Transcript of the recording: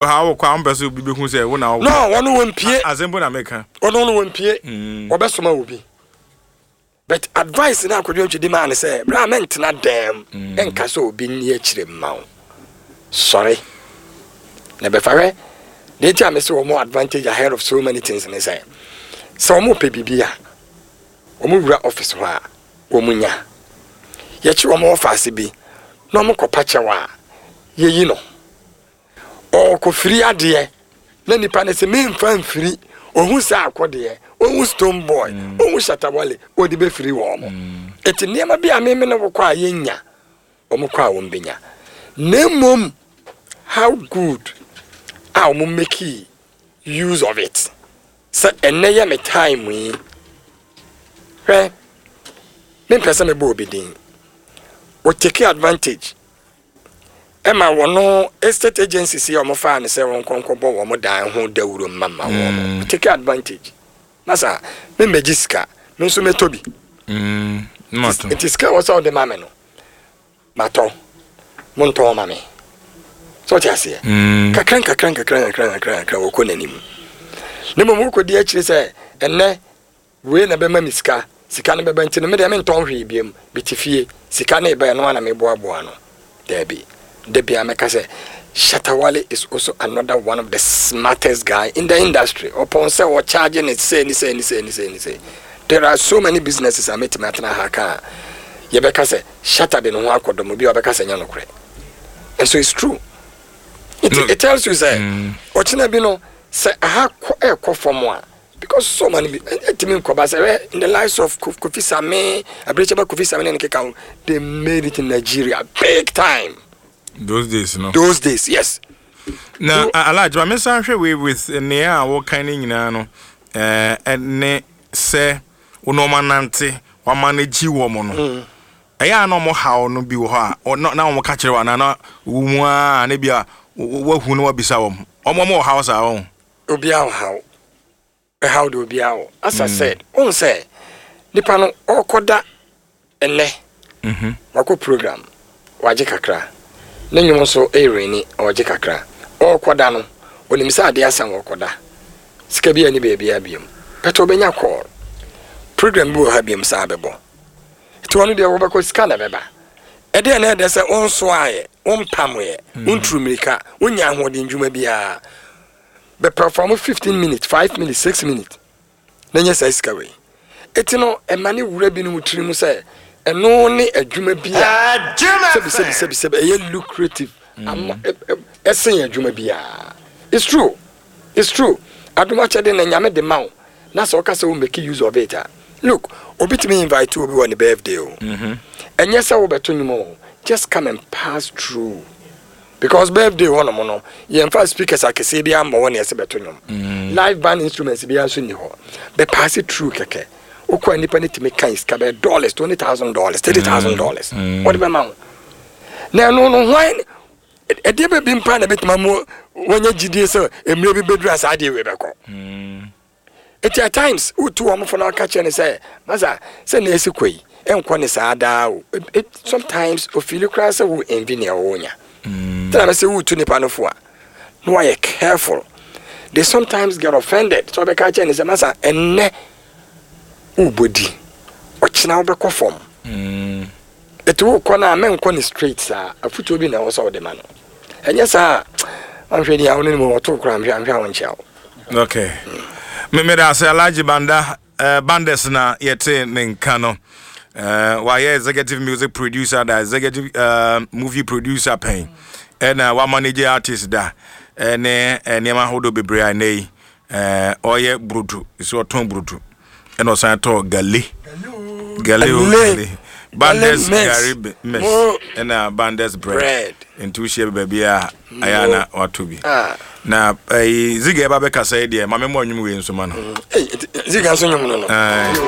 Ha wokɔ a, wompɛ sɛ obi bɛhu sɛ wo na wokɔ. No, wɔn wɔn pie. Asɛm po na meka. Wɔn no wɔn pie. Wɔbɛsoma obi. But advice na Akwadwo Antwi de maa no sɛ, bra mɛntena dɛm nka sɛ obi nni akyire mma wo. Sɔre na bɛfa hwɛ. Deɛ nti a mese wɔn advantage ahead of so many things ne sɛ, sɛ wɔn pɛ biribi a, wɔn wura office hɔ a, wɔn nya. Yɛkye wɔn wɔ faase bi na wɔn kɔpa kyɛw a, yɛyi no. Ɔrekɔfiri adeɛ na nipa no sɛ memfa mfiri, ɔhu sɛ akɔdeɛ, ɔhu stone boy, ɔhu Shatta Wale, ɔde bɛfiri wɔn mo. Ɛti nneɛma bi a meme ne wo kɔ a yɛnnya, wɔn kɔ a wɔn bɛnya. Na mmom how good a wɔn make use of it sɛ ɛnnɛ yɛ me time yi. Hwɛ, mempɛ sɛ mebɔ obi din. Wɔ take advantage Ɛma wɔn estate agencies yi a wɔfaa no sɛ wɔnkɔ nkɔbɔ wɔn dan ho dawuro mma mma wɔn no, mm. Take advantage. Na saa, me mmɛgye sika, me nso mɛtɔ bi. Mm, nti sika wɔ sɛ ɔde ma me no, matɔ, montɔn ma me. Sɛ ɔte aseɛ? Mm. Kakra nkakra nkakra nkakra nkakra nkakra wɔkɔ n'anim. Ne mmom wokɔdi akyire sɛ ɛnnɛ Wei na ɛbɛma me sika, sika no bɛba nti no me deɛ mentɔn hwee biom, mete fie, sika no reba ɛno ara na meboaboa ano. Daabi, da biara mɛka sɛ Shatta Wale is also another one of the smartest guy in the industry, ɔpɔn sɛ wɔ charge ne sei ne sei ne sei ne sei ne sei. There are so many businesses a mɛtumi atena ha aka a yɛbɛka sɛ Shatta de ne ho akɔdɔm obi a ɔbɛka sɛ ɛnyɛ nokorɛ. And so it's true. It, it tells you sɛ ɔkyena bi no sɛ aha kɔ ɛkɔ fam a Because so ma no bi ɛntumi nkɔ ba sɛ hwɛ in the likes of Kofi Same Abirekyaba Kofi Same ne ne keka ho they made it in Nigeria big time. Those days no. Those days yes. Na Alhaji ma me san hwɛ wei with nea a wɔkan ne nyinaa no ɛne sɛ wo na wɔn anante wɔama no gyi wɔn no. Mm. Ɛyɛ a na wɔn haw no bi wɔ hɔ a na wɔn ka kyerɛ wɔn anaa na wɔn mu a na bi a wɔahu na wɔabisa wɔn wɔn wɔn wɔ haw saa wɔn. Obiara wɔ haw. Ɛhaw deɛ obiara wɔ. As I said, wohu sɛ nipa no ɔrekɔda ɛnɛ, wakɔ program, wagye kakra. Ne nnwom nso ɛreni, ɔregye kakra. Ɔrekɔda no, onim sɛ adeɛ asa ɔrekɔda. Sika bi ani baabiara biom. But ɔbɛnya call. Program bi wɔ ha biom saa bɛbɔ. Nti ɔno deɛ wɔbɛkɔ sika na ɛbɛba. Ɛdeɛ na ɛdɛ sɛ wonsoaeɛ, wompamoeɛ, wonturu mmirika, wonnya ahoɔden dwuma biara. Bɛ perform 15 minutes, 5 minutes, 6 minutes na nya saa sika wei. Eti no ɛma ne wura binom tiri mu sɛ ɛno ne adwuma bi a sɛbi sɛbi sɛbi sɛbi ɛyɛ lucrative ama ɛsen adwuma biara. It's true. It's true. Adom akyɛde na Nyame de ma wo na sɛ ɔka sɛ wo make use of it a. Look, obi tumi invite obi wɔ ne birthday o. Ɛnyɛ sɛ wobɛto nnwom o. Just come and pass through. Because birthday hɔ nom no, yɛmfa speakers akɛseɛ biara mmɔ hɔ na yɛsɛ bɛto nnwom. Mm. Live band instruments biara nso nni hɔ. Bɛ pass it through kɛkɛ. Wokɔ a nipa no tumi kan sika bɛyɛ dollars, $20,000, $30,000. Mm. Wɔde bɛma wo. Na ɛno no hwan ɛdeɛ bɛ bi mpa na bɛtumi amu wɔnya gyidie sɛ mmerɛ bi bɛduru a saa adeɛ wei bɛkɔ. Mm. Enti at times wotu wɔn fo na wɔka kyerɛ no sɛ, Masa, sɛ nea esi kɔ yi, ɛnkɔ ne saa daa o. Sometimes ofili koraa sɛ wo envy nea ɔnya. Mm. Tena sɛ wotu nipa no fo a, na wayɛ careful. They sometimes get offended. Sɛ ɔbɛka kyerɛ no sɛ, Masa, ɛnnɛ wobɔ di, ɔkyena wobɛkɔ fam. Mm. Eti wokɔ no a, menkɔ no straight saa. Afotuo bi na ɛwɔ sɛ wode ma no. Ɛnyɛ saa a, anhwɛ ni a wo ne no mu ɔto koraa nhwɛ anhwɛ a ɔnkyea wo. Okay. Me me da ase Alhaji Banda uh, Bandes na yɛte ne nka no. Uh, wayɛ executive music producer da executive uh, movie producer pɛn ɛna wa manage artist da ɛne nneɛma ahodoɔ bebree a ɛnɛ yi Ɛɛ ɔyɛ burodo nso ɔtɔn burodo ɛna ɔsan tɔ gale gale o gale bandes gari mix ɛna bandes bread nti wohyia bi baabi a ayɛ a na watɔ bi ah. Na ɛyi ziga ɛba bɛkasa yi deɛ maame mu ɔnwom wei nso ma no. Ziga nso nwom no no.